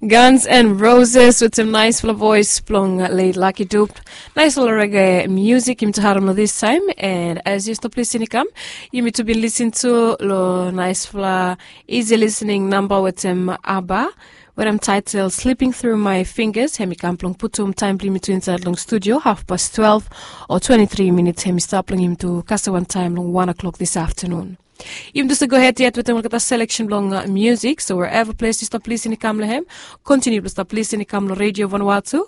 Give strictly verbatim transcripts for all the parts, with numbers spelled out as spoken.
Guns and Roses wetem naispela voes blong leit Lucky Dube. Naispela rege musik yumi tu harim long this time. And as yu stop lisin i kam, yumi tu bin lisin tu long naispela easy listening namba wetem ABBA, wetem title Slipping Through My Fingers. Hem i kam blong putum taem blong yumi tu insait long studio half past twelve o twenty-three minutes. Hem i stap long yumi tu kasem wantaem long one o'clock this afternoon. Yumi tu save go hed yet wetem olgeta selection blong musik. So wherever ples yu stop lisin i kam long hem, kontiniu blong stap lisin i kam long Radio Vanuatu.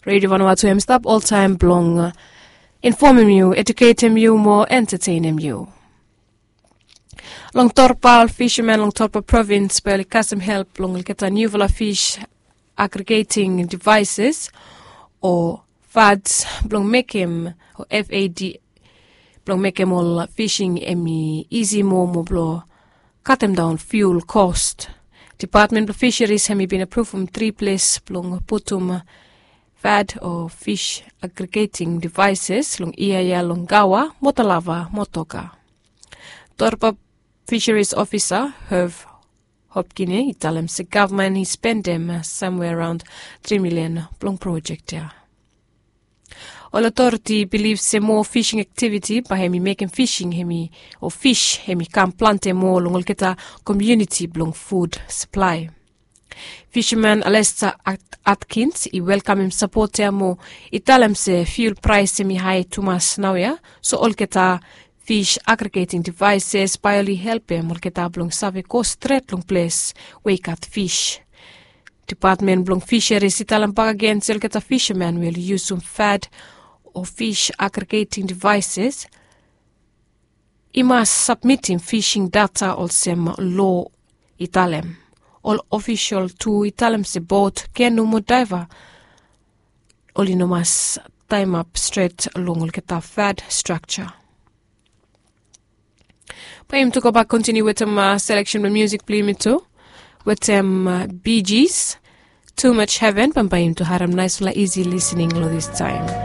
Radio Vanuatu hem i stap oltaem blong infomem yu, eduketem yu, mo entetenem yu. Long Torpa, ol fishermen long Torpa provins bae oli kasem help long olgeta niufala fish aggregating devices o fads blong mekem o FAD blong mekem ol fishing hem i isi moa mo blong katemdaon fuel cost. Department blong Fisheries hem i bin apruvum tri ples blong putum fad o fish aggregating devices long ia ia long Gaua, Motalava, Motoka. Torpa Fisheries Officer Herve Hopkine i talem se gavman i spendem samwe araon tri milian blong projek ya. Ol otoriti i bilif se moa fishing aktiviti bae hem i mekem fishing hem i o fish hem i kam plante moa long olgeta komuniti blong fud saplae. Fisherman Alester Atkins i welkamem sapot ya mo i talem se fuel praes hem i hae tumas naoia, so olgeta fish aggregating devices bae oli helpem olgeta blong save go stret long ples we i gat fish. Department blong Fisheries i talem bakegen se olgeta fisherman we oli yusum fad o fish aggregating devices i mas sabmitim fishing data olsem loa i talem. Ol ofisol tu i talem se bot, kenu mo daeva oli no mas taemap stret long olgeta fad strakja. Bae yumi tu gobak kontiniu wetem seleksen blong musik blong yumi tu wetem Bee Gees, Too Much Heaven. Bambae yumi tu harem naispela isi lisening long this taem.